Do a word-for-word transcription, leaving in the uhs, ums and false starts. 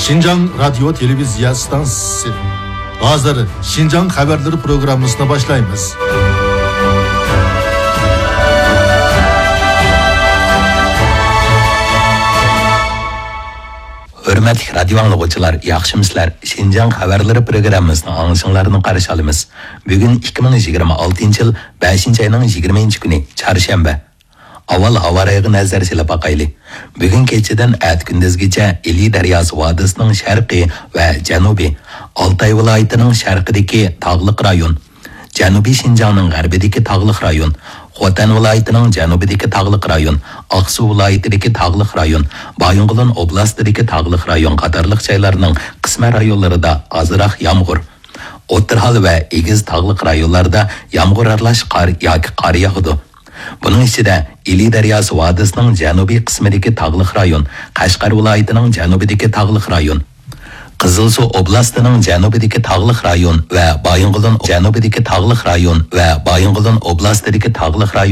شىنجاڭ رادىيو تېلېۋىزىيە ئىستانسىسى. ھازىر شىنجاڭ خەۋەرلىرى پروگراممىسىنى باشلايمىز. ھۆرمەتلىك رادىيو ئاڭلىغۇچىلار، ياخشىمۇسىلەر؟ شىنجاڭ خەۋەرلىرى پروگراممىسىنىڭ ئاڭلىشىڭلارنى قارشى ئالىمىز. بۈگۈن ئىككى مىڭ يىگىرمە ئالتىنچى يىل بەشىنچى ئاينىڭ يىگىرمە بىرىنچى كۈنى، چارشەنبە. ئاۋۋال ھاۋا رايىغا نەزەر سېلىپ باقايلى. بۈگۈن كېچىدىن ئەتە كۈندۈزگىچە ئىلى دەرياسى ۋادىسىنىڭ شەرقىي ۋە جەنۇبى، ئالتاي ۋىلايىتىنىڭ شەرقىدىكى تاغلىق رايون، جەنۇبىي شىنجاڭنىڭ غەربىدىكى تاغلىق رايون، خوتەن ۋىلايىتىنىڭ جەنۇبىدىكى تاغلىق رايون، ئاقسۇ ۋىلايىتىدىكى تاغلىق رايون، بايىنغولىن ئوبلاستىدىكى تاغلىق رايون قاتارلىق جايلارنىڭ قىسمەن رايونلىرىدا ئازراق يامغۇر، ئوتتۇرا ھال ۋە ئېگىز تاغلىق رايونلاردا يامغۇر ئارىلاش قار ياكى قار ياغىدۇ. بۇنىڭ ئىچىدە ئىلى دەرياسى ۋادىسىنىڭ جەنۇبىي قىسمىدىكى تاغلىق رايون، قەشقەر ۋىلايىتىنىڭ جەنۇبىدىكى تاغلىق رايون، قىزىلسۇ ئوبلاستىنىڭ جەنۇبىدىكى تاغلىق رايون ۋە بايىنغولىن جەنۇبىدىكى تاغلىق رايون ۋە بايىنغولىن ئوبلاستىدىكى تاغلىق رايون